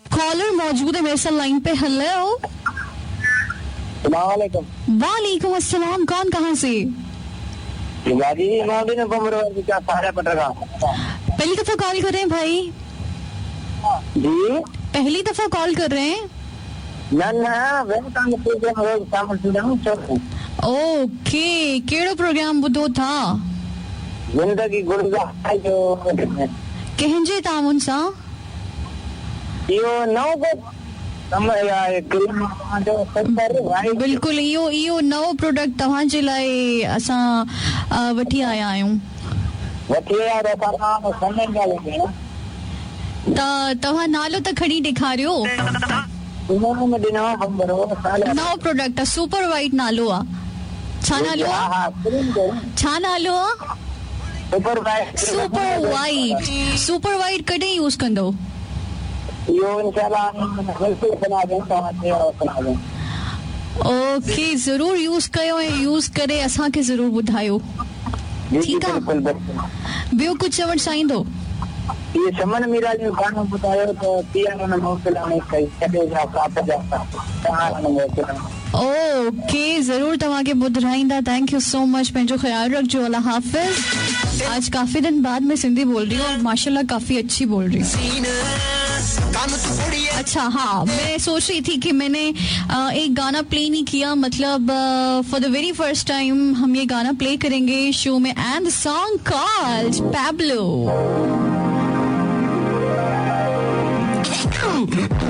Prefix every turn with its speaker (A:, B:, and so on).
A: Collar मौजूद है मेरे साथ लाइन पे। हेलो, वालेकुम अस्सलाम। कौन कहाँ से? पहली दफा कॉल कर रहे हैं भाई?
B: जी,
A: पहली दफा कॉल कर रहे हैं?
B: ना ना,
A: ओके। केड़ो प्रोग्राम ॿुधो था?
B: ज़िंदगी गुलज़ार जो।
A: कंहिंजे ताउन सां?
B: इहो नओं कम आहे,
A: बिल्कुलु इहो इहो नओं प्रोडक्ट तव्हांजे लाइ असां वठी आया आहियूं।
B: वठी आया
A: त तव्हां नालो त खणी ॾेखारियो। नओं प्रोडक्ट आहे, सुपर वाइट नालो आहे। छा नालो आहे? छा नालो आहे?
B: Super white.
A: Super white. Super white कॾहिं यूज़ कंदव? ओके, ज़रूर यूज़ कयो ऐं यूज़ करे असांखे ज़रूर ॿुधायो। ठीकु आहे? ॿियो कुझु चवणु चाहींदो?
B: इहे चमन मीरा जो गानो ॿुधायो त पिया न मोकिलाणे कई छॾे जा साथ जा तव्हां न मोकिलाणे।
A: ओके, ज़रूर तव्हांखे ॿुधाईंदा। Thank you so much. पंहिंजो ख़्यालु रखिजो। अल्लाह हाफ़िज़। आज काफ़ी दिन बाद मैं सिंधी बोल रही हूँ और माशाल्लाह काफ़ी अच्छी बोल रही हूँ। अच्छा हाँ, मैं सोच रही थी कि मैंने एक गाना प्ले नहीं किया, मतलब for the very first time हम ये गाना प्ले करेंगे शो में, एंड सॉन्ग कॉल्ड पैब्लो।